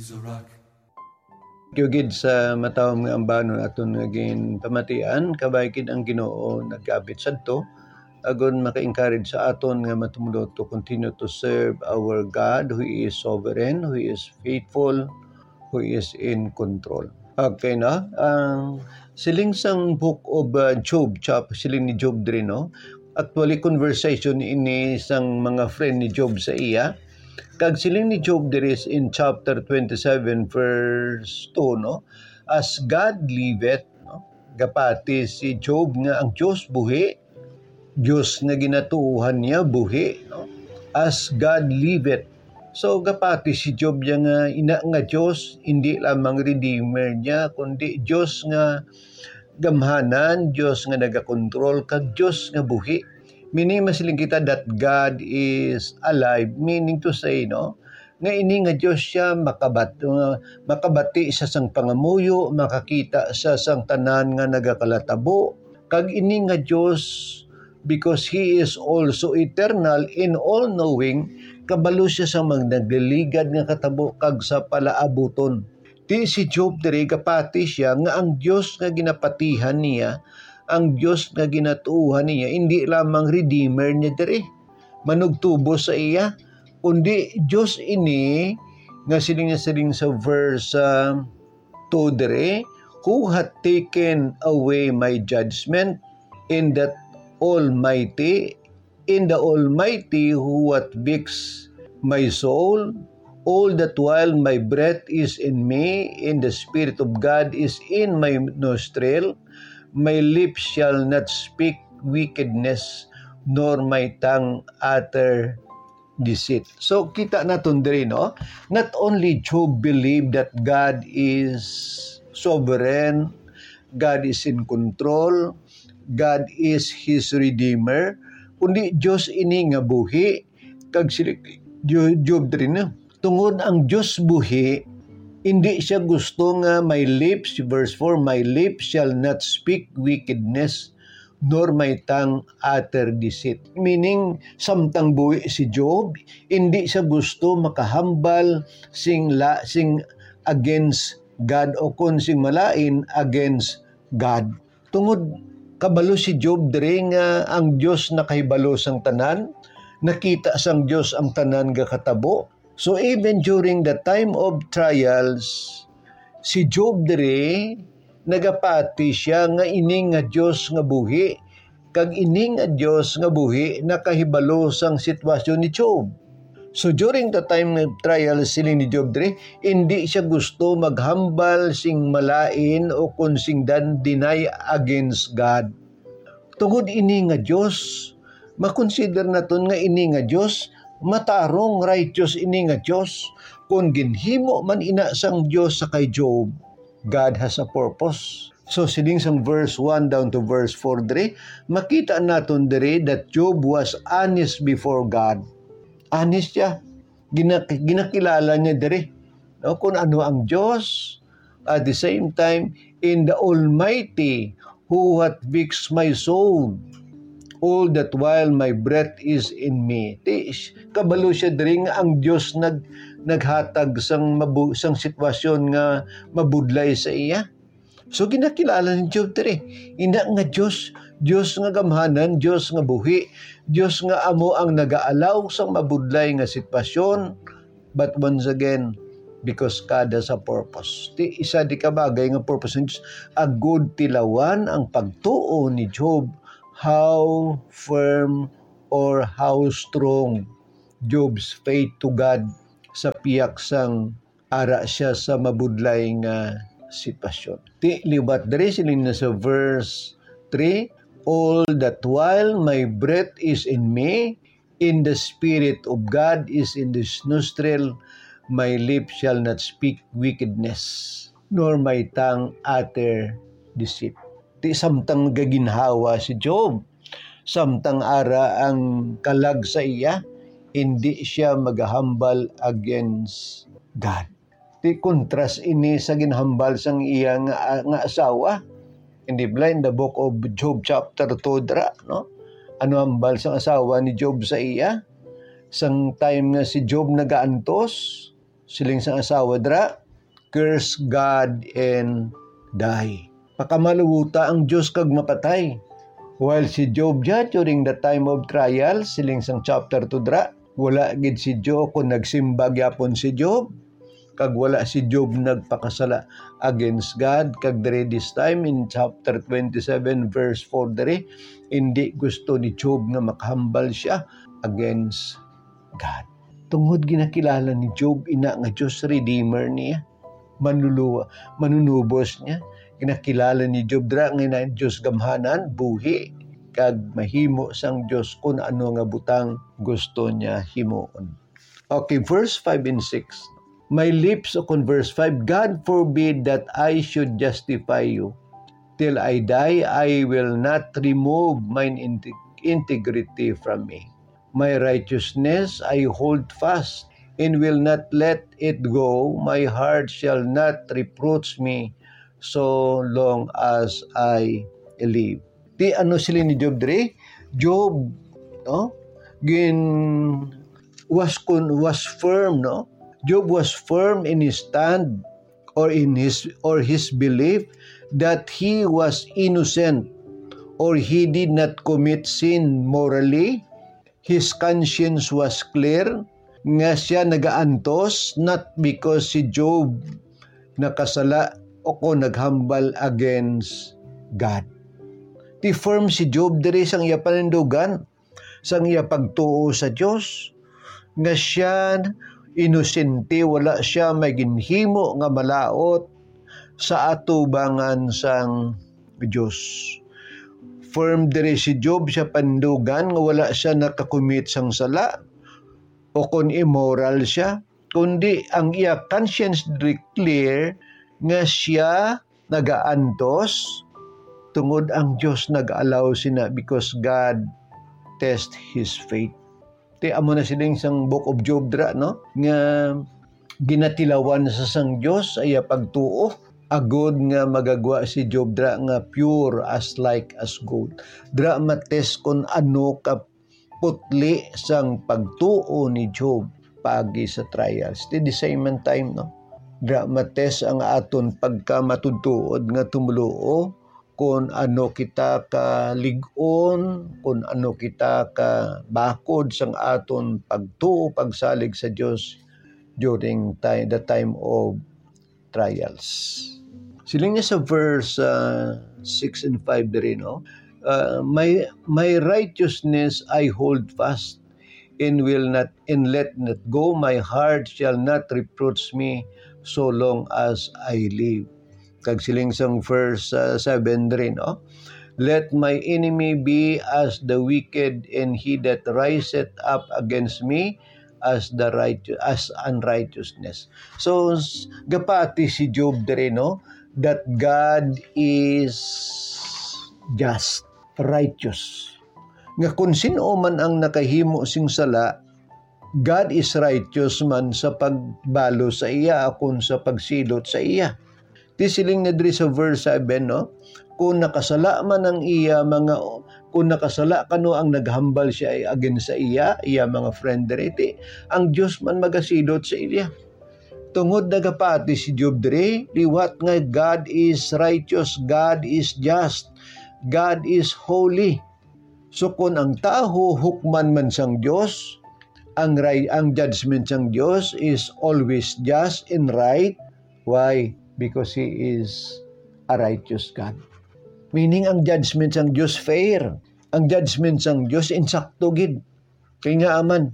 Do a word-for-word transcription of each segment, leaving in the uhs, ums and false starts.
Thank you gid sa matawom nga ambanon aton nga ginpamatian, kabay gid ang Ginoo nagkabit sadto, agon maka-encourage sa aton nga matumdo to continue to serve our God who is sovereign, who is faithful, who is in control. Okay na? Ang siling sang Book of, uh, Job, chap-, siling ni Job diri, no? Actually, conversation ini sang mga friend ni Job sa iya. Kag siling ni Job diri in chapter twenty-seven, verse two, no? "As God liveth," no? Gapati si Job nga ang Dios buhi, Dios nga ginatuohan niya buhi, no? "As God liveth." So, gapati si Job niya nga ina nga Dios, hindi lamang Redeemer niya, kundi Dios nga gamhanan, Dios nga nagakontrol, kag Dios nga buhi. Meaning, masiling kita that God is alive. Meaning to say, no, nga ini nga Dios siya makabat-, uh, makabati siya sang pangamuyo, makakita siya sang tanan nga nagakalatabo. Kag ini nga Dios, because He is also eternal and all-knowing, kabalo siya sa mga nagligad nga katabo kag sa palaabuton. Ti si Job diri gapati siya nga ang Dios nga ginapatihan niya, ang Dios nga ginatuohan niya, indi lamang Redeemer niya diri, manugtubos sa iya, kundi Dios ini nga siling nga siling sa verse, ah, two diri, "Who hath taken away my judgment, in that Almighty, in the Almighty who hath fixed my soul? All that while my breath is in me, in the Spirit of God is in my nostril, my lips shall not speak wickedness, nor my tongue utter deceit." So, kita naton diri, no? Not only Job believed that God is sovereign, God is in control, God is his redeemer, kundi Dios ini nga buhi, kag si Job diri, no? Tungod ang Dios buhi, hindi siya gusto nga, "My lips," verse four, "My lips shall not speak wickedness, nor my tongue utter deceit." Meaning, samtang buhi si Job, hindi siya gusto makahambal sing la-, sing against God, o kon sing malain against God. Tungod kabalo si Job diri nga ang Dios nakahibalo sang tanan, nakita sang Dios ang tanan nga katabo. So, even during the time of trials, si Job diri nagapati siya nga ini nga Dios nga buhi, kag ini nga Dios nga buhi nakahibalo sang sitwasyon ni Job. So, during the time of trial, siling ni Job diri, hindi siya gusto maghambal sing malain o kon sing dan-, deny against God. Tungod ini nga Dios, makonsider naton nga ini nga Dios matarong, righteous ini nga Dios. Kon ginhimo man ina sang Dios sa kay Job, God has a purpose. So, siling sang verse one down to verse four diri, makita naton diri that Job was honest before God. Honest siya. Gina-, ginakilala niya diri, no, kung ano ang Dios. At the same time, "In the Almighty who hath fixed my soul, all that while my breath is in me." Ti, kabalo siya diri nga ang Dios nag-, naghatag sang mabu-, sang sitwasyon nga mabudlay sa iya. So, ginakilala ni Job diri, ina nga Dios, Dios nga gamhanan, Dios nga buhi, Dios nga amo ang nagaalaw sang mabudlay nga sitwasyon. But once again, because God has a purpose. Ti, isa di ka bagay nga purpose ni Dios, agud tilawan ang pagtuo ni Job, how firm or how strong Job's faith to God sa pihak sang ara siya sa mabudlay nga sitwasyon. Ti liwat diri, siling na sa verse three, "All that while my breath is in me, in the Spirit of God is in this nostril, my lips shall not speak wickedness, nor my tongue utter deceit." Ti samtang gaginhawa si Job, samtang ara ang kalag sa iya, hindi siya magahambal against God. Ti kontras ini sa ginhambal sang iya nga, nga asawa. Hindi bala in the book of Job chapter two dira, no? Ano hambal sang asawa ni Job sa iya? Sang time nga si Job nagaantos, Siling sang asawa dira, "Curse God and die." Pakamaluwota ang Dios kag mapatay. While si Job dya, during the time of trial, siling sang chapter two dira, wala gid si Job, kung nagsimba gyapon si Job, kag wala si Job nagpakasala against God, kag diri this time in chapter twenty-seven, verse four diri, hindi gusto ni Job nga makahambal siya against God. Tungod ginakilala ni Job ina nga Dios Redeemer niya, manluluwa, manunubos niya. Ginakilala ni Job dira nga ina Dios gamhanan, buhi, kag mahimo sang Dios kun ano nga butang gusto niya himuon. Okay, verse five and six. My lips, o kon verse five, "God forbid that I should justify you. Till I die, I will not remove mine inte-, integrity from me. My righteousness I hold fast, and will not let it go. My heart shall not reproach me so long as I live." Ti ano sila ni Job diri? Job, no? Gin, was con-, was firm, no? Job was firm in his stand or in his, or his belief that he was innocent or he did not commit sin morally. His conscience was clear nga siya nagaantos, not because si Job nakasala o kon naghambal against God. Ti firm si Job diri sang iya panindugan, sang iya pagtuo sa Dios, nga siya inosente, wala siya may ginhimo nga malaut sa atubangan sang Dios. Firm diri si Job sa panindugan nga wala siya nakakumit sang sala o kon immoral siya, kundi ang iya conscience diri clear nga siya nagaantos, tungod ang Dios nag-allow sina, because God test his faith. Ti amo na siling sang Book of Job dira, no? Nga ginatilawan sa sang Dios sa iya pagtuo, agod nga magagwa si Job dira nga pure as like as gold. Dira matest kon ano ka putli sang pagtuo ni Job paagi sa trials. Ti the same man time, no? Dira matest ang aton pagkamatutuod nga tumoluo, kon ano kita ka lig-on, kon ano kita ka bakod sang aton pagtuo, pagsalig sa Dios during time, the time of trials. Siling niya sa verse, ah, six and five diri, no? Ah, "My, my righteousness I hold fast, and will not, and let not go. My heart shall not reproach me so long as I live." Kag siling sang verse, ah, seven diri, no? "Let my enemy be as the wicked, and he that riseth up against me as the righteous, as unrighteousness." So, s-, gapati si Job diri, no, that God is just, righteous. Nga kung sin-o man ang nakahimo sing sala, God is righteous man sa pagbalo sa iya, akon sa pagsilot sa iya. Ti siling na diri sa verse seven, no? Kung nakasala man ang iya mga, kung nakasala kano ang naghambal siya ay against sa iya, iya mga friend diri, ti ang Dios man magasilot sa iya. Tungod nagapati si Job diri, liwat nga God is righteous, God is just, God is holy. So, kun ang tawo hukman man sang Dios, ang ri-, ang judgment sang Dios is always just and right. Why? Because He is a righteous God. Meaning, ang judgment sang Dios fair. Ang judgment sang Dios insakto gid. Kay ngaa man,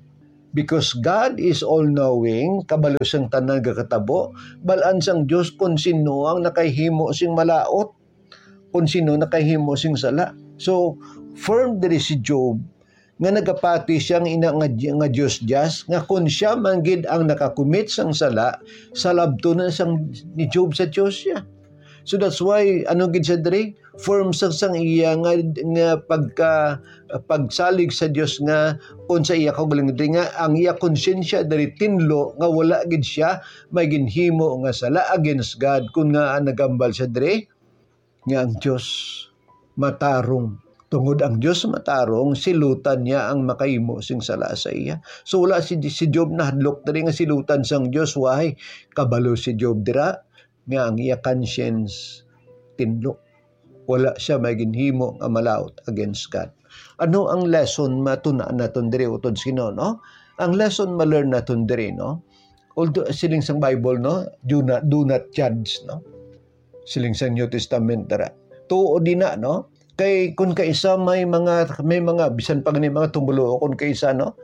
because God is all-knowing, kabalo sang tanan nga katabo, bal-an sang Dios kon sino ang nakahimo sing malaut, kon sino nakahimo sing sala. So, firm diri si Job nga nagapati siya nga ina nga, nga Dios just, nga kon siya man gid ang nakakumit sang sala, salabton na sang ni Job sa Dios siya. So that's why, ano gid siya diri? Firm sa sang iya nga, nga pagka, pagsalig sa Dios nga kon sa iya kaugalingon diri nga ang iya konsyensya diri tinlo nga wala gid siya may ginhimo nga sala against God, kun ngaa nagambal siya diri nga ang Dios matarong. Tungod ang Dios matarong, silutan niya ang makahimo sing sala sa iya. So, wala si, si Job nahadlok diri nga silutan sang Dios. Why? Kabalo si Job dira nga ang iya conscience tinlo. Wala siya may ginhimo nga malaut against God. Ano ang lesson matun-an naton diri, utod sa Ginoo, no? Ang lesson ma-learn naton diri, no? Although, siling sang Bible, no? Do not, do not judge, no? Siling sang New Testament dira. Tuo din na, no? Kay kung kaisa may mga, may mga, bisan pa gani mga tumuluo, kung kaisa, no?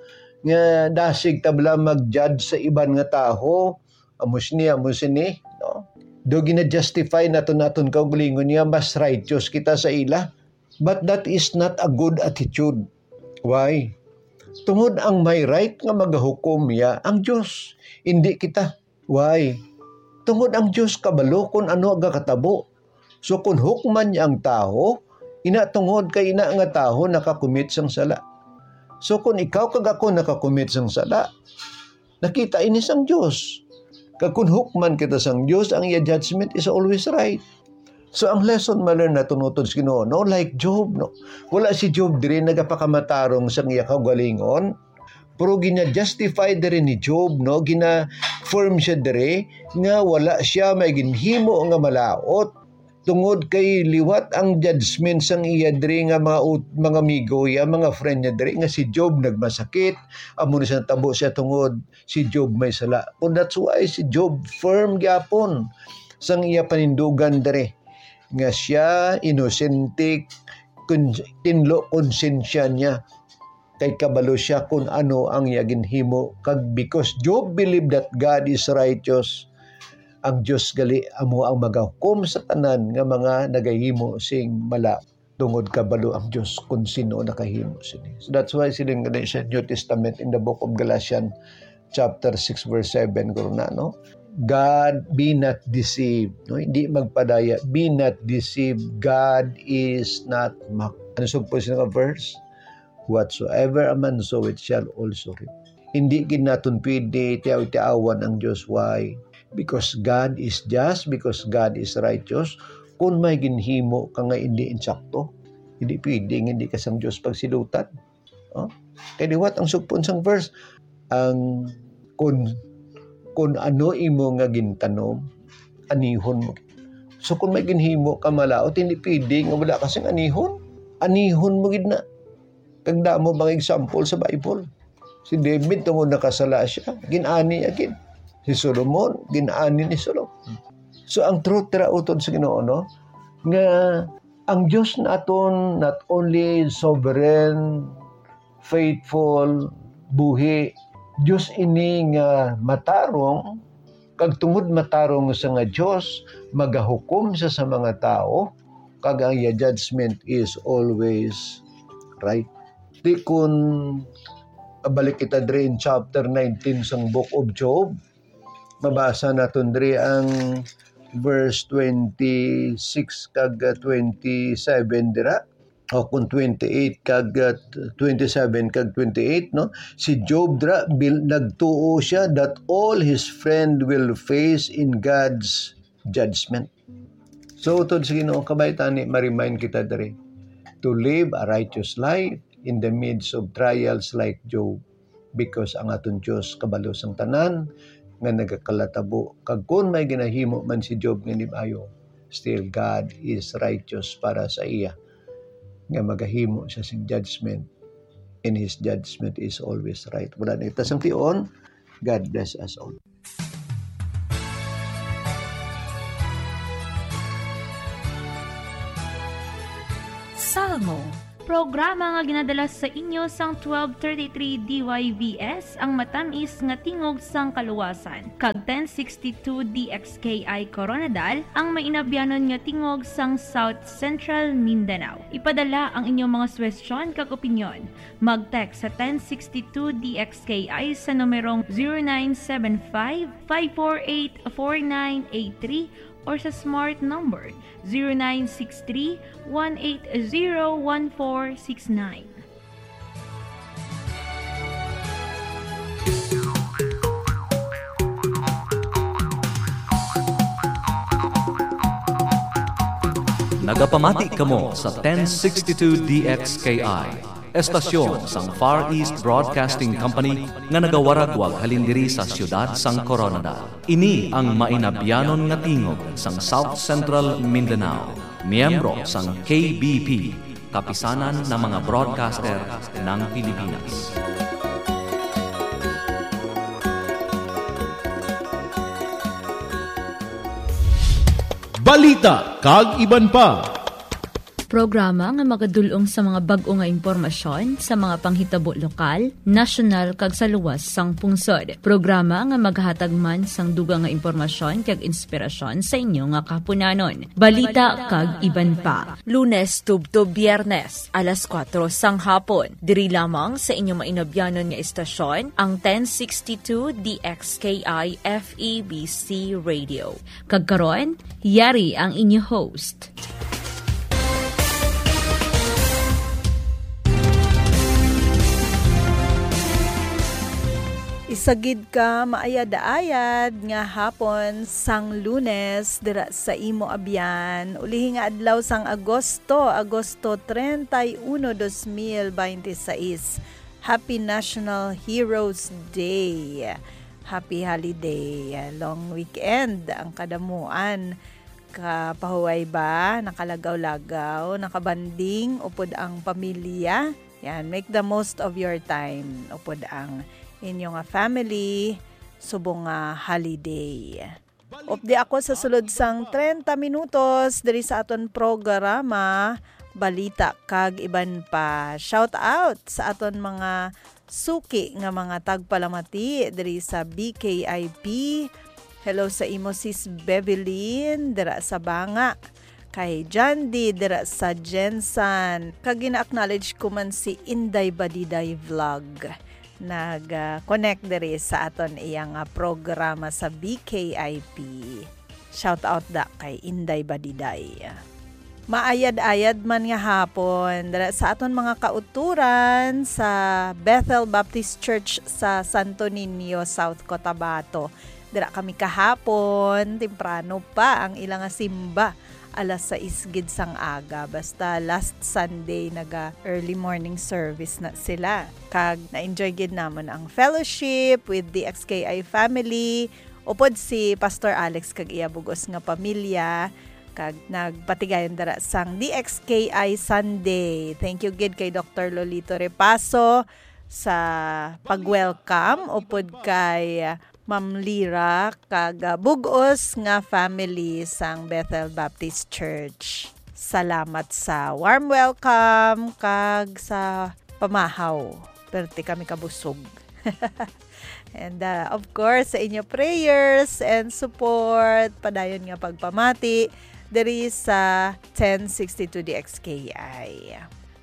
Nga dasig ta bala mag-judge sa iban nga tawo, amo sini, amo sini, no? Do gina-justify naton, naton kaugalingon nga mas righteous kita sa ila. But that is not a good attitude. Why? Tungod ang may right nga magahukom iya ang Dios, indi kita. Why? Tungod ang Dios kabalo kung ano ang gakatabo. So, kung hukman niya ang tawo, ina tungod kay ina nga tawo nakakumit sang sala. So, kung ikaw kag ako nakakumit sang sala, nakita ini sang Dios. Kag kung hukman kita sang Dios, ang iya judgment is always right. So, ang lesson ma-learn naton utod sa Ginoo, no? Like Job, no? Wala si Job diri nagapakamatarong sang iya kaugalingon, pero gina-justify diri ni Job, no? Gina-firm siya diri nga wala siya may ginhimo nga malaut. Tungod kay liwat ang judgment sang iya diri nga mga ut-, mga amigo, iya mga friend niya diri nga si Job nagmasakit, amo ni sa natabo siya tungod si Job may sala. Kung that's why si Job firm gyapon sang iya panindugan diri nga siya inosente, kun-, tinlo konsensya niya, kay kabalo siya kun ano ang iya ginhimo, kag because Job believed that God is righteous, ang Dios gali amo ang magahukom sa tanan nga mga nagahimo sing mala, tungod kabalo ang Dios kon sino nakahimo sini. So that's why siling gani sa New Testament in the book of Galatians chapter six verse seven, guro na, no? God, be not deceived, no? Hindi magpadaya, be not deceived. God is not mocked. Ano sugpo sini nga verse? Whatsoever a man soweth shall also reap. Hindi gid naton pwede tiaw-tiawan ang Dios. Why? Because God is just, because God is righteous. Kung may ginhimo ka nga hindi insakto, hindi pwede nga hindi ka sang Dios pagsilutan. Oh? Kay liwat ang sugpon sang verse, ang kun, kun ano imo nga gintanom, anihon mo. So kung may ginhimo ka malaut, hindi pwede nga wala ka sing anihon. Anihon mo gid na. Kag damo mga example sa Bible. Si David, tungod nakasala siya, gin-ani niya gid. Si Solomon, gin-ani ni Solomon. So ang truth dira utod sa Ginoo, no, nga ang Dios naton not only sovereign, faithful, buhi, Dios ini nga matarong, kag tungod matarong sa nga Dios, magahukom sa, sa mga tawo, kag ang iya judgment is always right. Di kun balik kita diri in chapter nineteen sang Book of Job, mabasa naton diri ang verse twenty-six kag, uh, twenty-seven dira, o kung twenty-eight kag, uh, twenty-seven kag twenty-eight, no? Si Job dira, bil-, nagtuo siya that all his friend will face in God's judgment. So, utod sa Ginoo, kabay tani ma-remind kita diri to live a righteous life in the midst of trials like Job, because ang aton Dios kabalo sang tanan nga nagakalatabo, kag kon may ginahimo man si Job nga hindi maayo, still God is righteous para sa iya, nga magahimo siya sing judgment, and his judgment is always right. Wala na kita sang tion. God bless us all. Salmo, programa nga ginadala sa inyo sang twelve thirty-three D Y V S, ang matamis nga tingog sang kaluwasan, kag ten sixty-two D X K I Koronadal, ang mainabyanon nga tingog sang South Central Mindanao. Ipadala ang inyong mga suwestyon kag opinyon. Mag-text sa ten sixty-two D X K I sa numerong zero nine seven five, five four eight, four nine eight three or sa smart number zero nine six three, one eight zero, one four six nine. Nagapamati kamo sa ten sixty-two D X K I, estasyon sang Far East Broadcasting Company nga nagawaragwag halin diri sa siyudad sang Coronadal. Ini ang mainabyanon nga tingog sang South Central Mindanao, miyembro sang K B P, Kapisanan ng mga Broadcaster ng Pilipinas. Balita kag iban pa. Programa nga magadul-ong sa mga bag-o nga impormasyon sa mga panghitabo lokal, nasyonal, kag sa luwas sang pungsod. Programa nga maghatag man sang dugang nga impormasyon kag inspirasyon sa inyo nga kahaponanon. Balita kag iban pa. Lunes tubtob Biyernes, alas kuwatro sang hapon. Diri lamang sa inyo mainabyanon nga istasyon, ang ten sixty-two D X K I F E B C Radio. Kag karon, yari ang inyo host. Isa gid ka maayad-ayad nga hapon sang Lunes dira sa imo abyan. Ulihi nga adlaw sang Agosto, Agosto treinta y uno, dos mil veintiséis. Happy National Heroes Day. Happy holiday. Long weekend ang kadamuan. Kapahuway ba? Nakalagaw-lagaw, nakabanding upod ang pamilya. Yan, make the most of your time upod ang inyo nga family subong nga holiday. Updi ako sa sulod sang treinta minutos diri sa aton programa, Balita kag Iban Pa. Shout out sa aton mga suki nga mga tagpalamati diri sa B K I P. Hello sa imo, Sis Bevelyn, dira sa Banga. Kay Jandy, dira sa Gensan. Kag gina-acknowledge ko man si Inday Badiday Vlog. Nag, ah, connect diri sa aton iya nga programa sa B K I P. Shout out da kay Inday Badiday. Maayad-ayad man nga hapon dira sa aton mga kauturan sa Bethel Baptist Church sa Santo Niño, South Cotabato. Dira kami kahapon, temprano pa ang ila nga simba. Alas sais gid sang aga. Basta last Sunday, naga early morning service na sila. Kag na-enjoy gid namon ang fellowship with the X K I family. Upod si Pastor Alex kag iya bug-os nga pamilya, kag nagpatigayon dira sang D X K I Sunday. Thank you gid kay Doctor Lolito Repaso sa pag-welcome, upod kay Ma'am Lira kag, ah, bug-os nga family sang Bethel Baptist Church. Salamat sa warm welcome kag sa pamahaw. Perte kami kabusog. And, ah, of course, sa inyo prayers and support, padayon nga pagpamati diri sa ten sixty-two D X K I.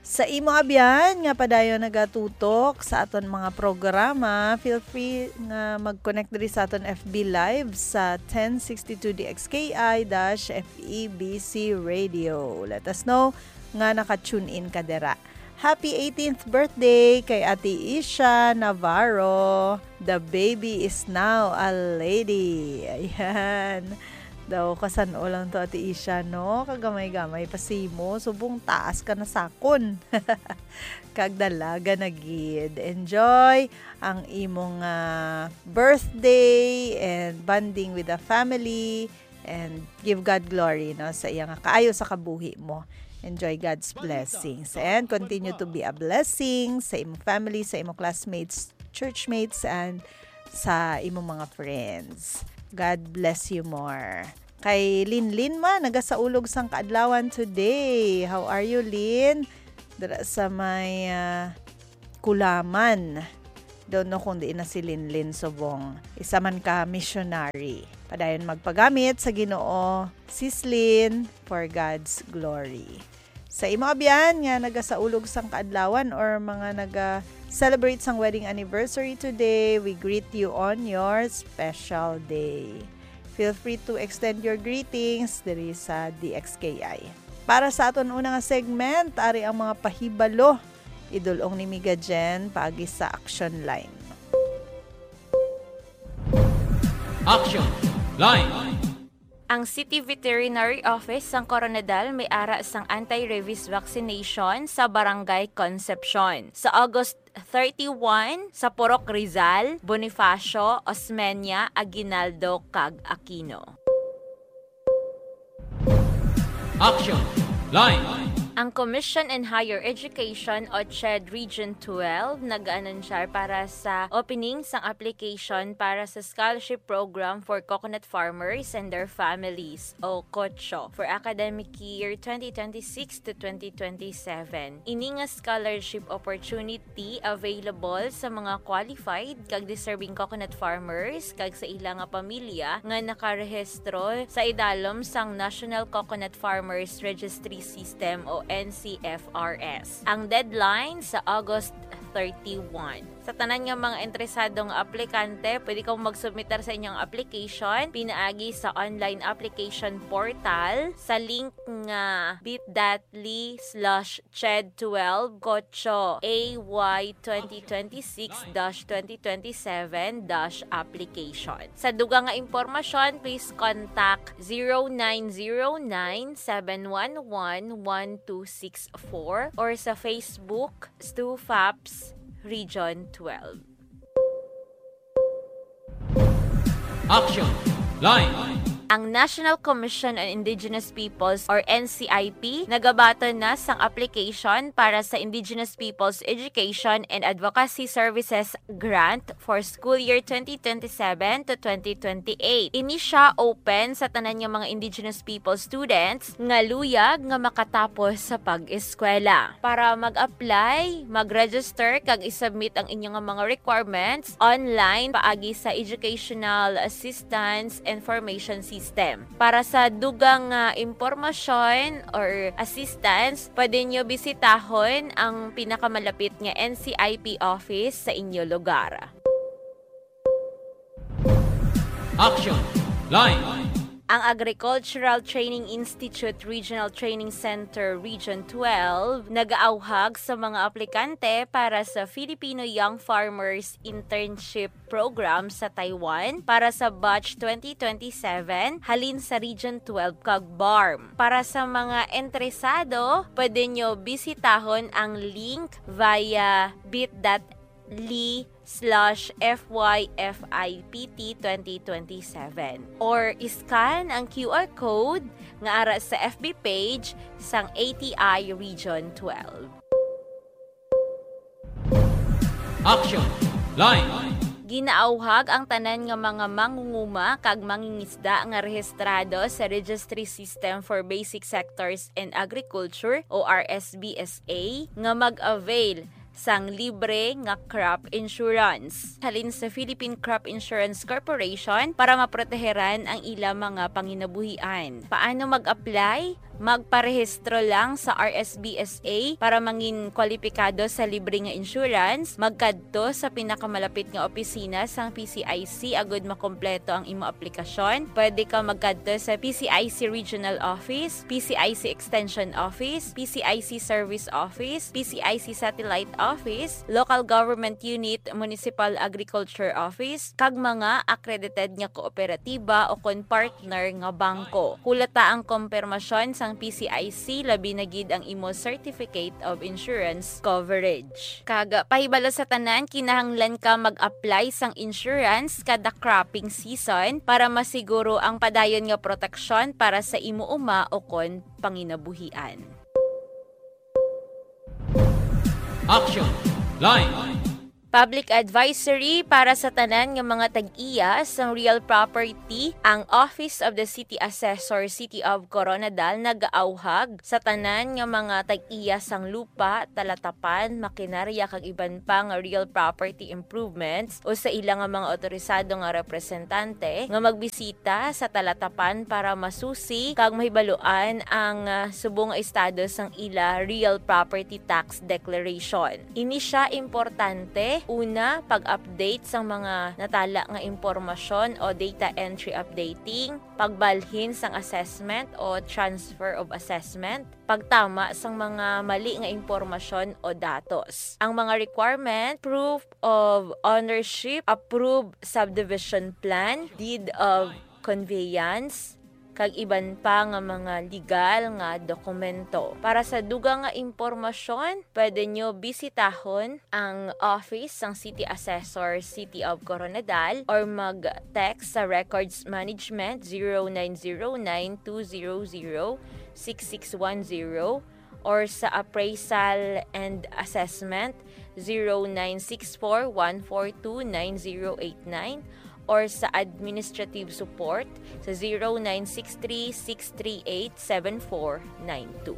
Sa imo abyan nga padayon nagatutok sa aton mga programa, feel free nga mag-connect diri sa aton F B Live sa ten sixty-two D X K I dash F E B C Radio. Let us know nga naka-tune in ka dira. Happy eighteenth birthday kay Ate Isha Navarro. The baby is now a lady. Ayan. Daw, kasan-o lang to, Ate Isha, no? Kagamay-gamay pa simo. Subong taas ka na sakon. Kag dalaga na gid. Enjoy ang imong, ah, birthday and bonding with the family. And give God glory, no, sa iya nga kaayo sa kabuhi mo. Enjoy God's blessings and continue to be a blessing sa imong family, sa imong classmates, churchmates, and sa imong mga friends. God bless you more. Kay Linlin man, nagasaulog sang kaadlawan today. How are you, Lin? Dira sa may, ah, Kulaman. Don't know kung diin na si Linlin subong. Isa man ka missionary. Padayon magpagamit sa Ginoo, Sis Lin, for God's glory. Sa imo abyan nga nagasaulog sang kaadlawan or mga naga-celebrate sang wedding anniversary today, we greet you on your special day. Feel free to extend your greetings diri sa D X K I. Para sa aton una nga segment, ari ang mga pahibalo. Idul-ong ni Miga Jen paagi sa Action Line. Action Line. Ang City Veterinary Office sang Koronadal may ara sang anti-rabies vaccination sa Barangay Concepcion sa August thirty-one sa Purok Rizal, Bonifacio, Osmeña, Aguinaldo, kag Aquino. Action Line. Ang Commission on Higher Education o CHED Region twelve nag-anunsyar para sa opening sang application para sa scholarship program for coconut farmers and their families o COCHO for academic year twenty twenty-six to twenty twenty-seven. Ini nga scholarship opportunity available sa mga qualified kag deserving coconut farmers kag sa ila nga pamilya nga nakarehistro sa idalom sang National Coconut Farmers Registry System o N C F R S. Ang deadline sa August thirty-one. Sa tanan nga mga interesado nga aplikante, pwede kamo magsubmitar sa inyong application pinaagi sa online application portal sa link nga bit.ly slash CHED twelve COCHO A Y twenty twenty-six dash twenty twenty-seven dash application. Sa dugang nga impormasyon, please contact zero nine zero nine, seven one one, one two six four or sa Facebook, Stu Faps Region twelve. Action Line. Ang National Commission on Indigenous Peoples or N C I P nagabaton na sang application para sa Indigenous Peoples Education and Advocacy Services Grant for school year twenty twenty-seven to twenty twenty-eight. Ini sia open sa tanan nga mga Indigenous People students nga luyag nga makatapos sa pag-eskwela. Para mag-apply, mag-register kag i-submit ang inyo nga mga requirements online paagi sa Educational Assistance Information System. Para sa dugang nga impormasyon or assistance, pwede nyo bisitahon ang pinakamalapit nga N C I P office sa inyo lugar. Action Line. Ang Agricultural Training Institute Regional Training Center Region twelve nagaawhag sa mga aplikante para sa Filipino Young Farmers Internship Program sa Taiwan para sa batch twenty twenty-seven halin sa Region twelve kag BARMM. Para sa mga interesado, pwede nyo bisitahon ang link via bit.ly slash F Y F I P T twenty twenty-seven or iscan ang Q R code nga ara sa F B page sang A T I Region twelve. Action Line. Ginaawhag ang tanan nga mga mangunguma kag mangingisda nga rehistrado sa Registry System for Basic Sectors in Agriculture o R S B S A nga mag-avail sang libre nga crop insurance halin sa Philippine Crop Insurance Corporation para maproteheran ang ila mga panginabuhian. Paano mag-apply? Magparehistro lang sa R S B S A para mangin kwalipikado sa libre nga insurance. Magkadto sa pinakamalapit nga opisina sang P C I C agud makompleto ang imo aplikasyon. Pwede ka magkadto sa P C I C Regional Office, P C I C Extension Office, P C I C Service Office, P C I C Satellite Office, Local Government Unit, Municipal Agriculture Office, kag mga accredited nga kooperatiba o kon partner nga bangko. Hulata ang kompirmasyon sang P C I C, labi na gid ang imo Certificate of Insurance Coverage. Kag pahibalo sa tanan, kinahanglan ka mag-apply sang insurance kada cropping season para masiguro ang padayon nga proteksyon para sa imo uma o kon panginabuhian. Action Line. Public advisory para sa tanan nga mga tag-iya sang real property. Ang Office of the City Assessor, City of Koronadal, nagaawhag sa tanan nga mga tag-iya sang lupa, talatapan, makinarya, kag iban pa nga real property improvements o sa ila nga mga otorisado nga representante nga magbisita sa talatapan para masusi kag mahibaluan ang, ah, subong nga estado sang ila real property tax declaration. Ini sia importante, una, pag-update sang mga natala nga impormasyon o data entry updating, pagbalhin sang assessment o transfer of assessment, pagtama sang mga mali nga impormasyon o datos. Ang mga requirement, proof of ownership, approved subdivision plan, deed of conveyance, kag iban pa nga mga legal nga dokumento. Para sa dugang nga impormasyon, pwede nyo bisitahon ang office sang City Assessor, City of Koronadal, or mag-text sa Records Management zero nine zero nine two zero zero six six one zero or sa Appraisal and Assessment zero nine six four one four two nine zero eight nine or sa Administrative Support sa zero nine six three six three eight seven four nine two.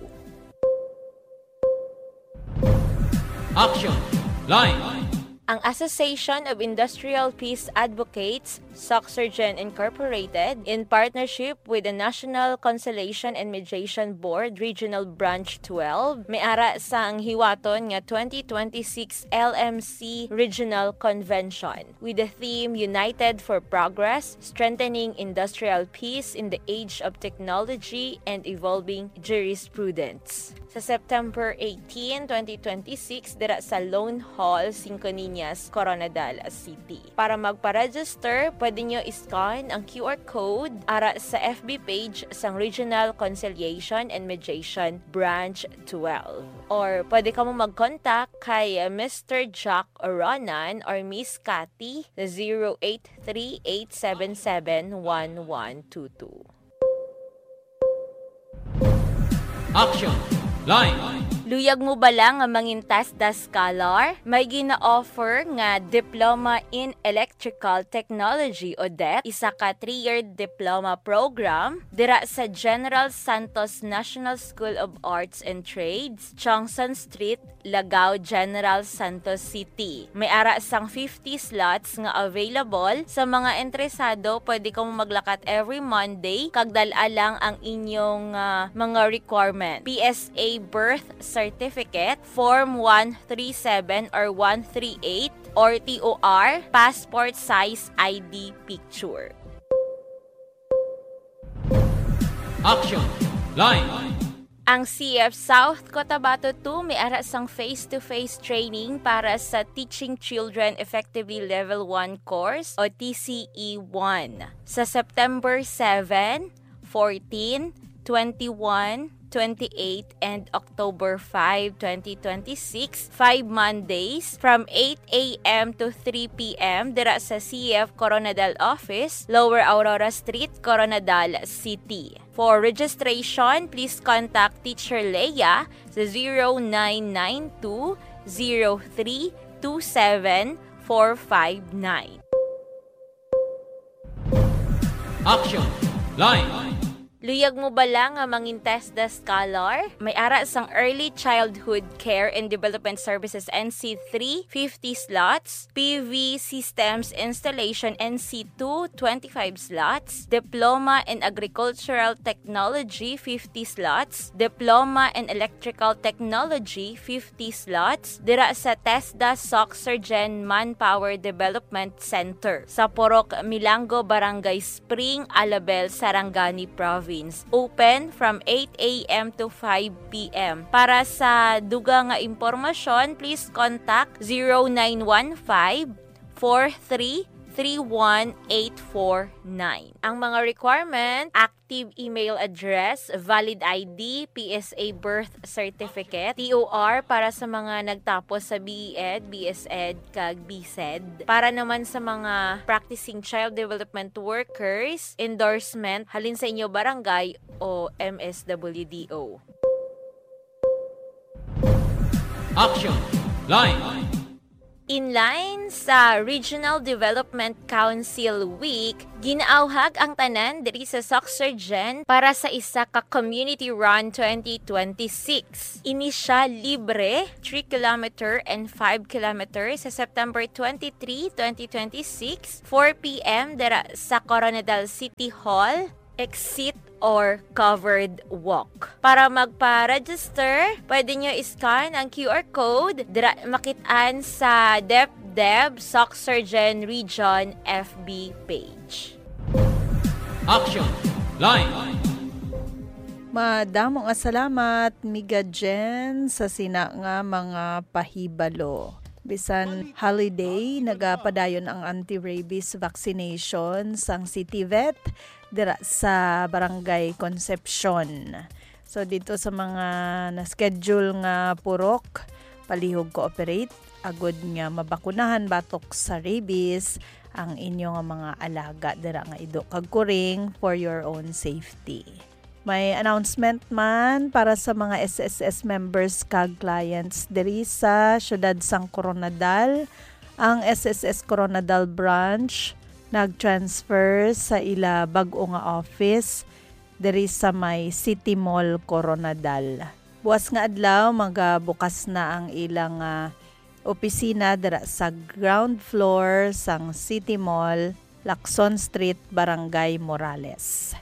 Action Line. Ang Association of Industrial Peace Advocates, Soxergen Incorporated, in partnership with the National Conciliation and Mediation Board Regional Branch twelve, may ara sang hiwaton nga twenty twenty-six L M C Regional Convention with the theme United for Progress, Strengthening Industrial Peace in the Age of Technology and Evolving Jurisprudence. Sa September eighteen, twenty twenty-six, dira sa Lone Hall, Cinco Niñas, Koronadal City. Para magpa-register, pwede nyo i-scan ang Q R code ara sa F B page sang Regional Conciliation and Mediation Branch twelve. Or pwede kamo mag-contact kay Mister Jack Ronan or Miss Cathy sa zero eight three eight seven seven one one two two. Action Line. Luyag mo bala nga mangin TESDA scholar? May gina-offer nga Diploma in Electrical Technology o det, isa ka three-year diploma program dira sa General Santos National School of Arts and Trades, Chongson Street, Lagao, General Santos City. May ara sang fifty slots nga available. Sa mga interesado, pwede kamo maglakat every Monday kag dal-a lang ang inyong, ah, mga requirement. P S A birth certificate, form one three seven or one three eight, or T O R, passport size I D picture. Action Line. Ang C F South Cotabato two may ara sang face-to-face training para sa Teaching Children Effectively Level one course o T C E one sa September seven, fourteen, twenty-one, twenty-eight, and October five, twenty twenty-six, five Mondays, from eight a m to three p m, dira sa C F Coronadal Office, Lower Aurora Street, Coronadal City. For registration, please contact Teacher Leia sa zero nine nine two zero three two seven four five nine. Action Line. Luyag mo bala nga mangin TESDA scholar? May ara sang Early Childhood Care and Development Services N C three, fifty slots, P V Systems Installation N C two, twenty-five slots, Diploma in Agricultural Technology, fifty slots, Diploma in Electrical Technology, fifty slots, dira sa TESDA Soxergen Manpower Development Center sa Purok Milango, Barangay Spring, Alabel, Sarangani Province. Open from eight a m to five p m. Para sa dugang nga impormasyon, please contact zero nine one five, four three three one eight four nine. Ang mga requirement, active email address, valid I D, P S A birth certificate, T O R para sa mga nagtapos sa B E Ed, B S Ed, kag B Sed. Para naman sa mga practicing child development workers, endorsement halin sa inyo barangay o M S W D O. Action Line. In line sa Regional Development Council Week, ginaawhag ang tanan diri sa Soxergen para sa isa ka community run twenty twenty-six. Ini siya libre, three kilometer and five kilometer sa September twenty-three, twenty twenty-six, four p m dira sa Koronadal City Hall, exit or covered walk. Para magpa-register, pwede nyo i-scan ang Q R code dira makit-an sa DepDev Soxergen Region F B page. Action Line. Madamo nga salamat, Miga Jen, sa sina nga mga pahibalo. Bisan holiday, nagapadayon ang anti-rabies vaccination sang City Vet. dira sa Barangay Concepcion. So, dito sa mga na-schedule nga purok, palihog cooperate, agud nga mabakunahan batok sa rabies ang inyo nga mga alaga dira nga ido kag kuring for your own safety. May announcement man para sa mga S S S members kag clients diri sa siyudad sang Koronadal. Ang S S S Koronadal Branch nag-transfer sa ila bag-o nga office diri sa may City Mall, Koronadal. Buas nga adlaw, magabukas na ang ilang, ah, opisina dira sa ground floor sang City Mall, Lacson Street, Barangay Morales.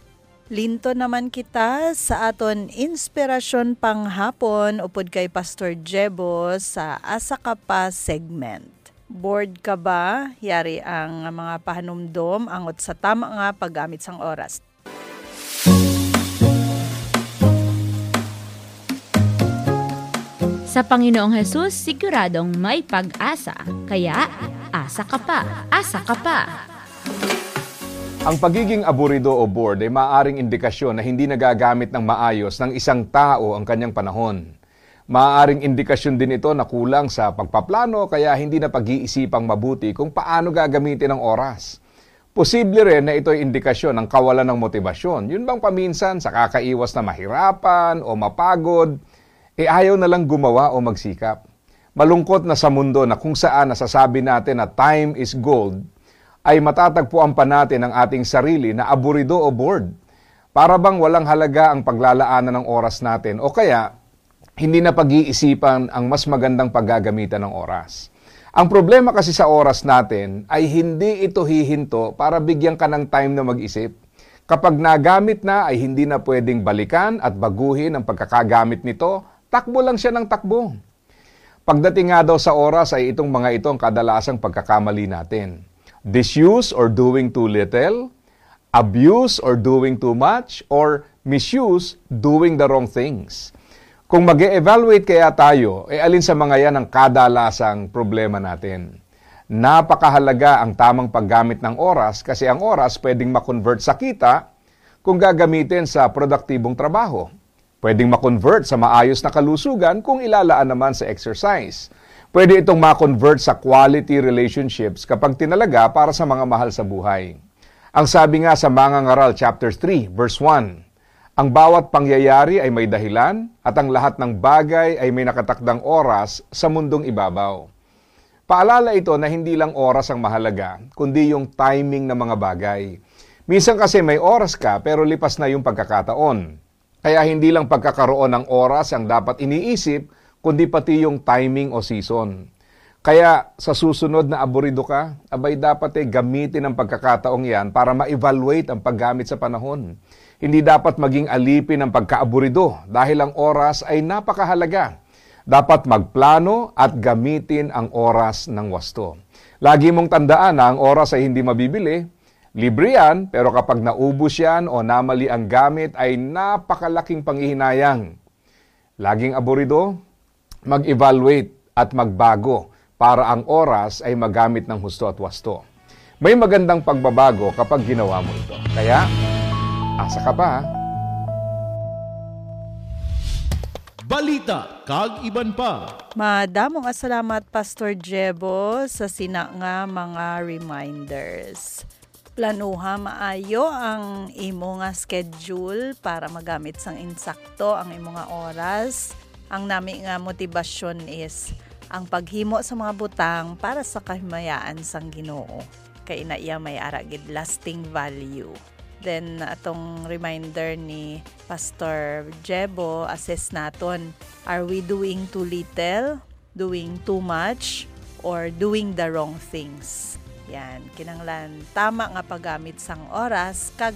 Linto naman kita sa aton inspirasyon panghapon upod kay Pastor Jebo sa Asa Ka Pa segment. Bored ka ba? Yari ang mga pahanumdom angot sa tama nga paggamit sang oras. Sa Panginoong Hesus, siguradong may pag-asa. Kaya, asa ka pa, asa ka pa. Ang pagiging aburido o bored ay maaaring indikasyon na hindi nagagamit ng maayos ng isang tao ang kanyang panahon. Maaaring indikasyon din ito na kulang sa pagpaplano kaya hindi na pag-iisipang mabuti kung paano gagamitin ang oras. Posible rin na ito'y indikasyon ng kawalan ng motibasyon. Yun bang paminsan sa kakaiwas na mahirapan o mapagod, e ayaw na lang gumawa o magsikap. Malungkot na sa mundo na kung saan nasasabi natin na time is gold, ay matatagpuan pa natin ang ating sarili na aburido o bored. Para bang walang halaga ang paglalaanan ng oras natin o kaya hindi na pag-iisipan ang mas magandang paggagamitan ng oras. Ang problema kasi sa oras natin ay hindi ito hihinto para bigyan ka ng time na mag-isip. Kapag nagamit na ay hindi na pwedeng balikan at baguhin ang pagkakagamit nito, takbo lang siya ng takbo. Pagdating nga daw sa oras ay itong mga ito ang kadalasang pagkakamali natin. Disuse or doing too little, abuse or doing too much, or misuse, doing the wrong things. Kung mag evaluate kaya tayo, e alin sa mga yan ang kadalasang problema natin? Napakahalaga ang tamang paggamit ng oras kasi ang oras pwedeng ma-convert sa kita kung gagamitin sa produktibong trabaho. Pwedeng ma-convert sa maayos na kalusugan kung ilalaan naman sa exercise. Pwede itong ma-convert sa quality relationships kapag tinalaga para sa mga mahal sa buhay. Ang sabi nga sa Mangangaral chapter three, verse one, "Ang bawat pangyayari ay may dahilan, at ang lahat ng bagay ay may nakatakdang oras sa mundong ibabaw." Paalala ito na hindi lang oras ang mahalaga, kundi yung timing ng mga bagay. Minsan kasi may oras ka pero lipas na yung pagkakataon. Kaya hindi lang pagkakaroon ng oras ang dapat iniisip, kundi pati yung timing o season. Kaya sa susunod na aburido ka, abay dapat e gamitin ang pagkakataong yan para ma-evaluate ang paggamit sa panahon. Hindi dapat maging alipin ang pagkaaburido dahil ang oras ay napakahalaga. Dapat magplano at gamitin ang oras ng wasto. Lagi mong tandaan na ang oras ay hindi mabibili. Libre yan, pero kapag naubos yan o namali ang gamit ay napakalaking panghihinayang. Laging aburido, mag-evaluate at magbago para ang oras ay magamit ng husto at wasto. May magandang pagbabago kapag ginawa mo ito. Kaya, asa ka pa? Balita kag iban pa. Madamo nga salamat, Pastor Jebo, sa sina nga mga reminders. Planuha maayo ang imo nga schedule para magamit sang insakto ang imo nga oras. Ang nami nga motibasyon is ang paghimo sa mga butang para sa kahimayaan sang Ginoo. Kay ina iya may ara gid lasting value. Then atong reminder ni Pastor Jebo, assess naton, are we doing too little, doing too much, or doing the wrong things? Yan, kinanglan tama nga paggamit sang oras kag